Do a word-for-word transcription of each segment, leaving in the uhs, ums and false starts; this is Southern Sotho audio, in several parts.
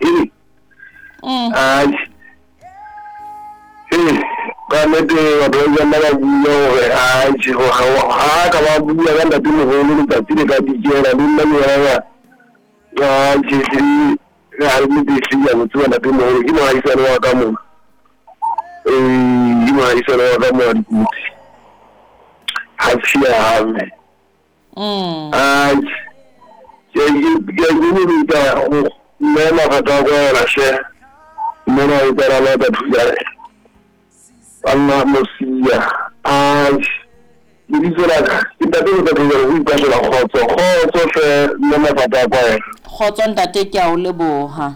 Ee. Atjhe. Ee, ka nnete batho ba ileng ba ba bua hore atjhe ha ka ba bua ka ntatemoholo letsatsi le ka dikela le nna ke bona atjhe ehlile ha nnete ehlile ke a mo tseba ntatemoholo ke mohaisane wa ka mona. Ee, ke mohaisane wa ka mona dikotsi. Ha tshiame. Atjhe. Ke a ikemisetsa ho mme mathata a kwela hle. Mona o tsena lata thujane. Banna mosia. Atjhe. Lebitso la ka ke ntate o tla thujane ho ipatlela kgotso. Kgotso hle mme mathata a kwela. Kgotso ntate, ke a o leboha.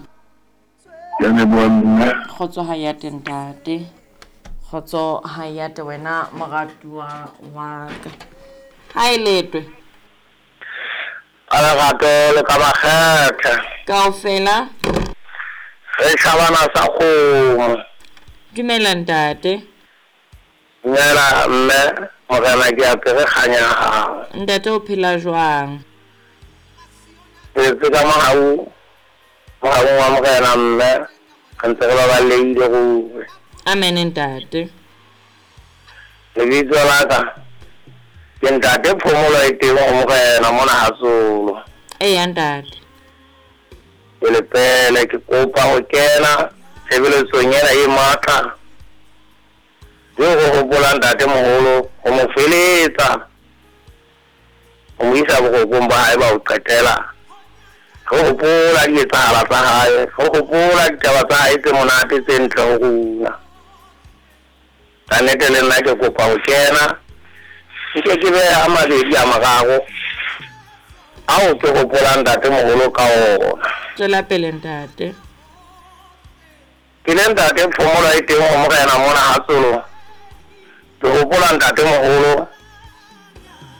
Ke a leboha mme. Kgotso ha ya te ntate. Kgotso ha ya te wena moratuwa wa ka. Ha e letwe. Ka lerato le ka makgethe. Kaofela. Re shabana sa kgomo. Dumela ntate. Dumela mme, morena ke apere kganya ya hao. Ntate o phela jwang? Phetse ka mohau, mohau wa morena mme, re ntse re baballehile ruri. Amen ntate. Lebitso la ka ke ntate Phomolo e teng ho morena mona Hatsolo. Eya ntate. Pele pele ke kopa ho kena tshebeletsong ena e matla. Eo ho hopola ntatemoholo ho mo feletsa, ho mo isa borokong ba hae ba ho qetela. Re hopola dietsahala tsa hae, re hopola ditaba tsa hae tse monate tse ntle ho rona. Ka nnete le nna ke kopa ho kena nke ke beha a mabedi a mararo ao ke hopolang ntatemoholo ka ona. Tswela pele ntate. Ke le ntate Phomolo e teng ho morena mona Hatsolo. Ke hopola ntatemoholo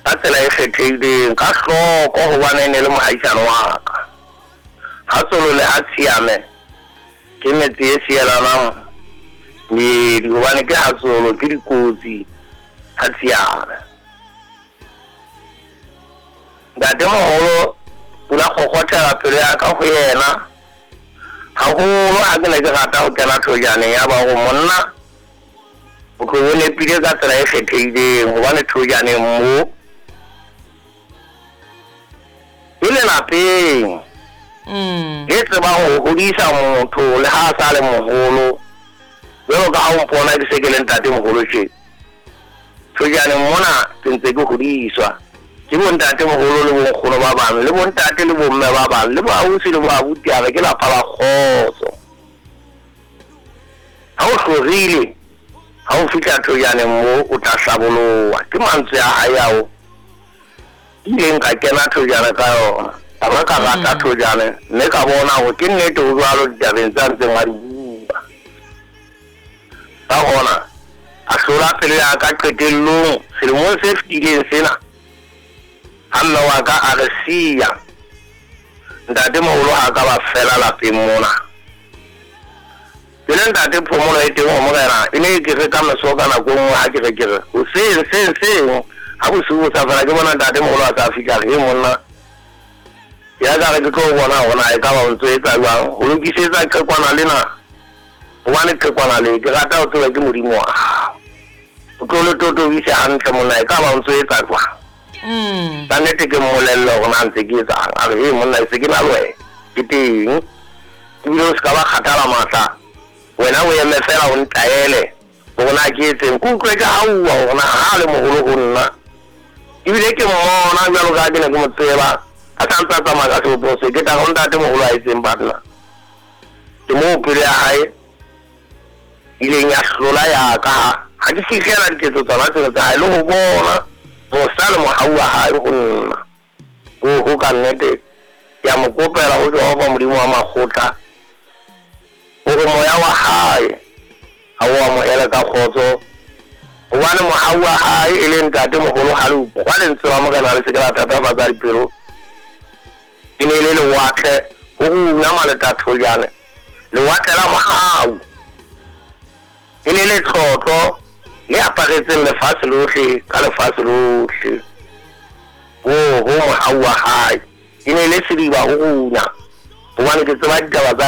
ka tsela e kgethehileng, ka hloko hobane e ne le mohaisane wa ka. Hatsolo le ha Tshiame ke metse e sielanang meedi hobane ke Hatsolo ke dikotsi ha Tshiame. Ntatemoholo o la kgokgothela pelo ya ka ho yena haholo ha ke ne ke rata ho kena thojaneng ya ba hore monna o tlo o nepile ka tsela e kgethehileng hobane thojaneng mo e lelapeng le tsebang ho hodisa motho le ha a sa le moholo jwalo ka ha o mpona ke se ke le ntatemoholo tje. Thojaneng mona ke ntse ke hodiswa ke bontatemoholo le bonkgono ba bang le bontate le bomme ba bang le boausi le boabuti a re ke lapa la kgotso. Ha o hlorile ha o fihla thojaneng mo o tla hlaboloha. Ke mantswe a hae ao ileng ka kena thojana ka yona. Ka ba ka rata thojane mme ka bona hore ke nnete ho jwalo ditabeng tsa ntseng a di bua. Ka hona a hlola pelo ya ka qetellong selemong se fetileng sena ha mme wa ka a re siya. Ntatemoholo ha ka ba fela lapeng mona. Ke le ntate Phomolo e teng ho morena e ne ke re ka meso ka nako e nngwe ha ke re ke re hoseng seng seng ha bosiu bo sa fela ke bona ntatemoholo a sa fihla re monna ya ka re ke tlo bona hore na e ka ba o ntso etsa jwang ho lokisetsa qhekwana lena hobane qhekwana le ke rata ho tseba ke Modimo wa hao. O tlo le totobise hantle monna e ka ba o ntso etsa jwang. Ka nnete ke mmolelle hore na ntse ke etsang. A re he monna e se ke na le wena ke teng ebile o se ka ba kgathala matla wena o eme fela o ntaele hore na ke etseng. Ke utlwe ke hauwa hore na ha le moholo ho nna ebile ke mmona jwalo ka ha ke ne ke mo tseba a sa ntse a tsamaya ka sebopeho se ke tla ho ntatemoholo a etseng banna. Ke moo pelo ya hae ileng ya hlola ya ka ha ke fihlela diketso tsona tsena tsa hae le ho bona mosa le mohau wa hae ho nna. Ho ka nnete ke a mo kopela ho Jehova Modimo wa makgotla hore moya wa hae ha o amohele ka kgotso hobane mohau wa hae e le ntatemoholo ha le utlwa lentswe la morena le se ke la thatafatsa dipelo. E ne le lewatle ho runa maletathojane lewatle la mohau e ne le tlotlo le aparetseng lefatshe lohle ka lefatshe lohle. Ho ho mohau wa hae e ne le sediba ho runa hobane ke tseba ditaba tsa